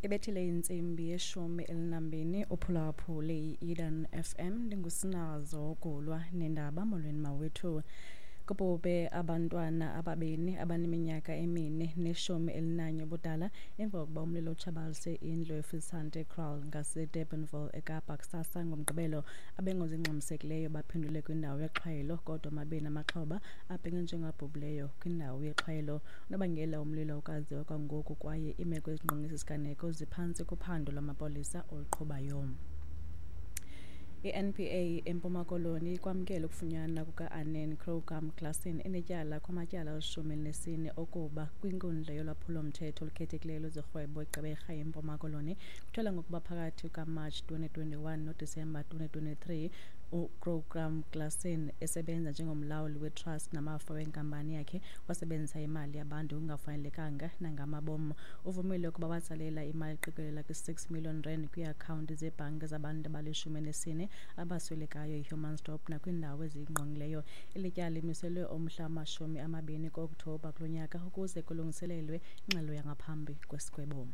Ibethile intsimbi ye-12 uphulaphule i-Eden FM. Ndingusinazo Gulwa nendaba. Molweni mawethu. Kubhubhe abantwana ababini abaneminyaka 4 ne-11 ubudala emva kokuba umlilo utshabalalise indlu eFisante Kraal ngaseDurbanville eKapa kusasa ngoMgqibelo. Abengozi ingxamisekileyo baphendule kwindawo yexhwayelo, kodwa amabini amaxhoba abhengezwe njengabhubhileyo kwindawo yexhwayelo. Unobangela womlilo awukaziwa kwangoku kwaye iimeko ezingqonge esi siganeko ziphantsi kophando lwamapolisa oluqhubayo. I-NPA eMpuma Koloni ikwamkele ukufunyanwa kuka-Anen Crocam Claassen enetyala kumatyala ali-14 okuba kwinkundla yolwaphulo-mthetho olukhethekileyo lwezorhwebo eGqeberha eMpuma Koloni. Kutyholwa ngokuba phakathi kukaMatshi 2021 noDisemba 2023 uCrocam Claassen esebenza njengomlawuli wetrust namafa wenkampani yakhe wasebenzisa imali yabantu ngokungafanelekanga nangamabom. Uvumile ukuba watsalela imali eqikelela kwi-6 million rand kwiiakhawunti zebhanki zabantu abali-14 abaswelekayo eHumansdorp nakwiindawo eziyingqongileyo. Eli tyala limiselwe umhla wama-20 ku-Okthobha kulo nyaka ukuze kulungiselelwe ingxelo yangaphambi kwesigwebo.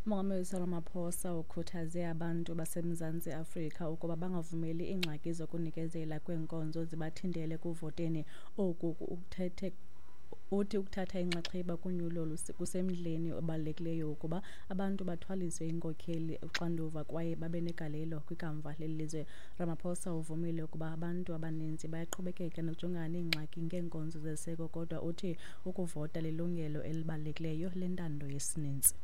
Umongameli Cyril Ramaphosa ukhuthaze abantu baseMzantsi Afrika ukuba bangavumeli iingxaki zokunikezela kweenkonzo zibathintele ekuvoteni. Oku ukuthethe uthi ukuthatha inxaxheba kunyulo kusemdleni obalulekileyo ukuba abantu bathwaliswe iinkokheli uxanduva kwaye babe negalelo kwikamva leli lizwe. Ramaphosa uvumile ukuba abantu abaninzi bayaqhubekeka nokujongana neengxaki ngeenkonzo zeseko, kodwa uthi ukuvota lilungelo elibalulekileyo lentando yesininzi.